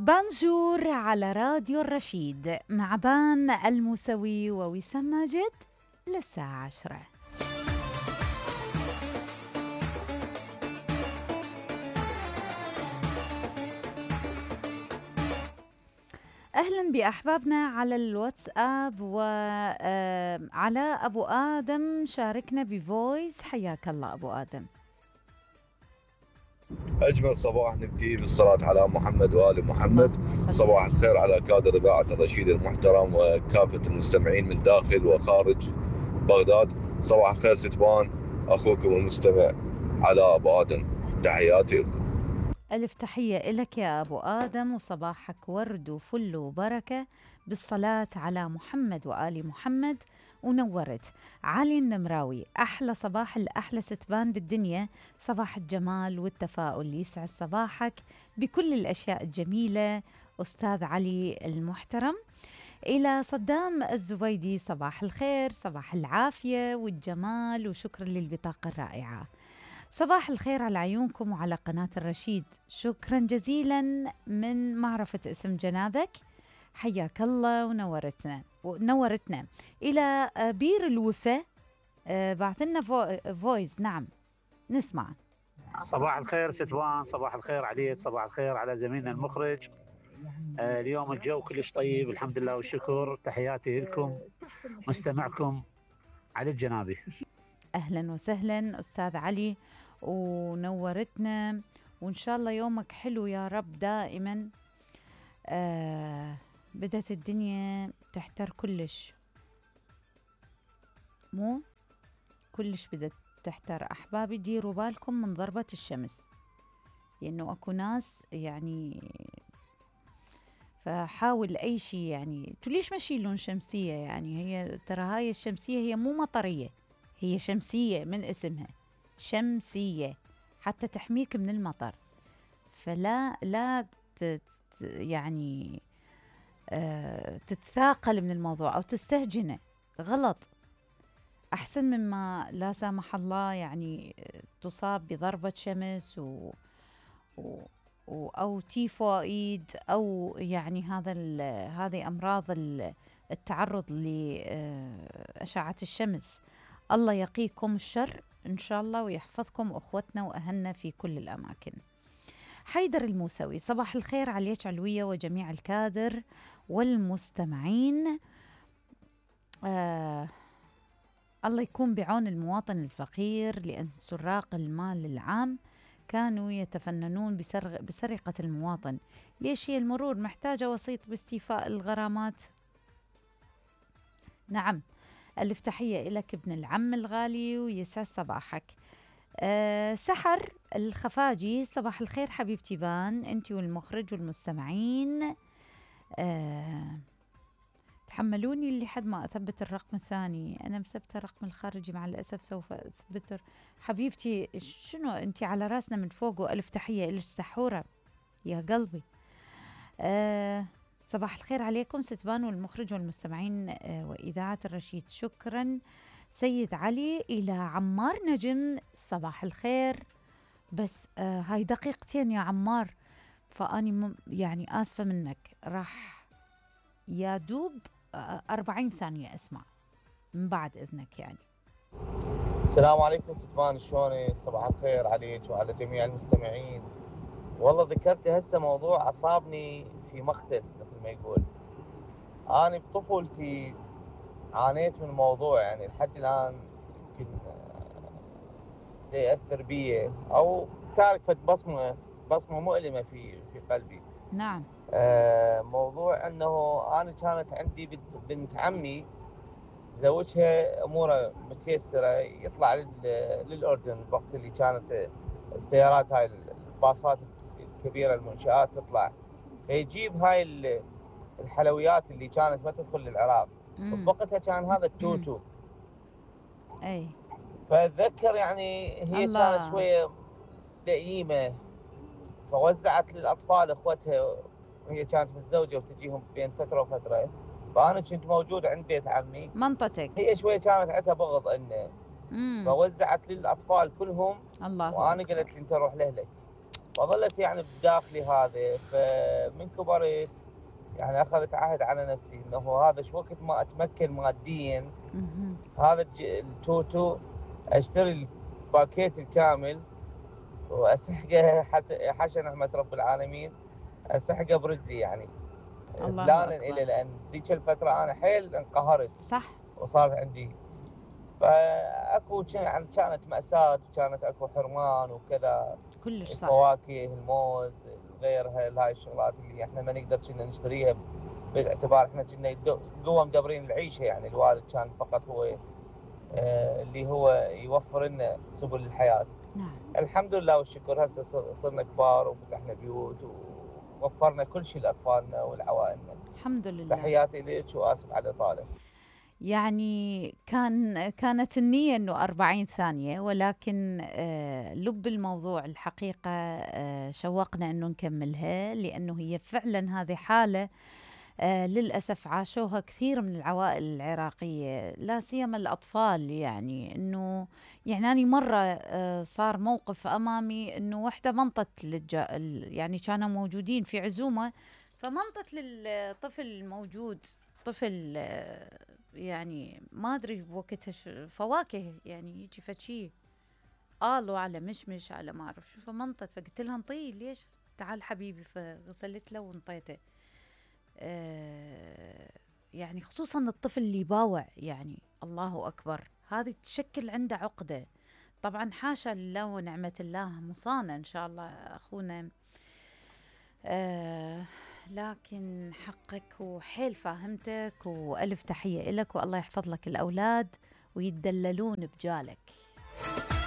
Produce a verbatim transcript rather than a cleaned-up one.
بانجور على راديو الرشيد مع بان الموسوي ووسام ماجد للساعة عشرة. أهلا بأحبابنا على الواتساب وعلى أبو آدم شاركنا بفويس. حياك الله أبو آدم. أجمل صباح نبدي بالصلاة على محمد وآل محمد. صباح الخير على كادر إذاعة الرشيد المحترم وكافة المستمعين من داخل وخارج بغداد. صباح الخير ستبان، أخوكم المستمع على أبو آدم، تحياتي لكم. ألف تحية لك يا أبو آدم، وصباحك ورد وفل وبركة بالصلاة على محمد وآل محمد. ونورت علي النمراوي، أحلى صباح الأحلى ستبان بالدنيا، صباح الجمال والتفاؤل، يسعد صباحك بكل الأشياء الجميلة أستاذ علي المحترم. إلى صدام الزبيدي، صباح الخير، صباح العافية والجمال، وشكرا للبطاقة الرائعة. صباح الخير على عيونكم وعلى قناة الرشيد، شكرا جزيلا من معرفة اسم جنابك، حياك الله ونورتنا ونورتنا. إلى بير الوفا بعث لنا فو فويس. نعم نسمع. صباح الخير ستوان، صباح الخير عليك، صباح الخير على زميلنا المخرج. آه اليوم الجو كلش طيب الحمد لله والشكر، تحياتي لكم مستمعكم علي الجنابي. أهلا وسهلا أستاذ علي ونورتنا، وإن شاء الله يومك حلو يا رب دائما. آه بدت الدنيا تحتر كلش، مو كلش بدت تحتر. أحبابي ديروا بالكم من ضربة الشمس، لأنه أكو ناس يعني، فحاول أي شيء يعني تليش ما شيلون شمسية، يعني هي ترى هاي الشمسية هي مو مطرية، هي شمسية من اسمها شمسية حتى تحميك من المطر. فلا لا تت يعني آه تتثاقل من الموضوع أو تستهجنه، غلط. أحسن مما لا سامح الله يعني تصاب بضربة شمس و, و أو تيفوئيد أو يعني هذا هذه أمراض التعرض لأشعة الشمس. الله يقيكم الشر إن شاء الله ويحفظكم أخوتنا وأهلنا في كل الأماكن. حيدر الموسوي، صباح الخير عليك علوية وجميع الكادر والمستمعين. آه الله يكون بعون المواطن الفقير، لأن سراق المال العام كانوا يتفننون بسرق بسرقة المواطن. ليش هي المرور محتاجة وسيط باستيفاء الغرامات؟ نعم. ألف تحية لك ابن العم الغالي ويسعد صباحك. أه سحر الخفاجي، صباح الخير حبيبتي بان، انت والمخرج والمستمعين. أه تحملوني لحد ما أثبت الرقم الثاني، أنا مثبتة الرقم الخارجي مع الأسف، سوف أثبته. حبيبتي شنو أنت على راسنا من فوق، وألف تحية إلك سحورة يا قلبي. أه صباح الخير عليكم ستبان والمخرج والمستمعين أه وإذاعة الرشيد، شكرا سيد علي. إلى عمار نجم، صباح الخير، بس أه هاي دقيقتين يا عمار، فأني يعني آسفة منك، راح يا دوب أربعين ثانية أسمع من بعد إذنك يعني. السلام عليكم ستبان، شلونك؟ صباح الخير عليك وعلى جميع المستمعين. والله ذكرت هسه موضوع أصابني في مقتل مثل ما يقول. أنا بطفولتي عانيت من الموضوع، يعني لحد الآن يمكن يأثر بي أو تارك بصمة بصمة مؤلمة في في قلبي. نعم. آه موضوع أنه أنا كانت عندي بنت, بنت عمي زوجها أموره متيسرة، يطلع للأردن الوقت اللي كانت السيارات هاي الباصات الكبيرة المنشآت تطلع، فيجيب هاي الحلويات اللي كانت ما تدخل للعراق. بوقتها كان هذا التوتو. أي. فأتذكر يعني هي الله. كانت شوية لئيمة، فوزعت للأطفال إخوتها، وهي كانت متزوجة وتجيهم بين فترة وفترة. فأنا كنت موجود عند بيت عمي منطتك، هي شوية كانت عندها بغض إنه، فوزعت للأطفال كلهم. الله وأنا قلت لي أنت روح لأهلك. فظلت يعني بداخلي هذا. فمن كبرت يعني اخذت عهد على نفسي انه هذا شو وقت ما اتمكن ماديا هذا التوتو اشتري الباكيت الكامل واسحقه حاشا نعمة رب العالمين، اسحقه برجلي يعني بلانا الى، لان ذيك الفتره انا حيل انقهرت صح وصار عندي فاكو يعني كانت ماساه وكانت اكو حرمان وكذا كلش صح. الفواكه الموز غيرها هاي الشغلات اللي احنا ما نقدر كنا نشتريها باعتبار احنا كنا قوه مدبرين العيشه، يعني الوالد كان فقط هو آه اللي هو يوفر لنا سبل الحياه. نعم. الحمد لله والشكر هسه صرنا كبار وفتحنا بيوت ووفرنا كل شيء لاطفالنا ولعوائلنا. الحمد لله. تحياتي لك واسف على الاطاله. يعني كان كانت النية أنه أربعين ثانية، ولكن آه لب الموضوع الحقيقة آه شوقنا أنه نكملها، لأنه هي فعلا هذه حالة آه للأسف عاشوها كثير من العوائل العراقية، لا سيما الأطفال. يعني أنه يعني أنا مرة آه صار موقف أمامي أنه وحدة منطت للجا يعني كانوا موجودين في عزومة، فمنطت للطفل الموجود، طفل آه يعني ما ادري بوقتها فواكه يعني يجي فشي قالوا على مشمش على ما اعرف شو، فمنطت فقلت لها انطيه ليش، تعال حبيبي، فغسلت له وانطيته. آه يعني خصوصا الطفل اللي يباوع، يعني الله اكبر، هذه تشكل عنده عقده. طبعا حاشا لله ونعمه الله، مصانه ان شاء الله اخونا، آه لكن حقك وحيل فاهمتك، وألف تحية إلك، والله يحفظ لك الأولاد ويتدللون بجالك.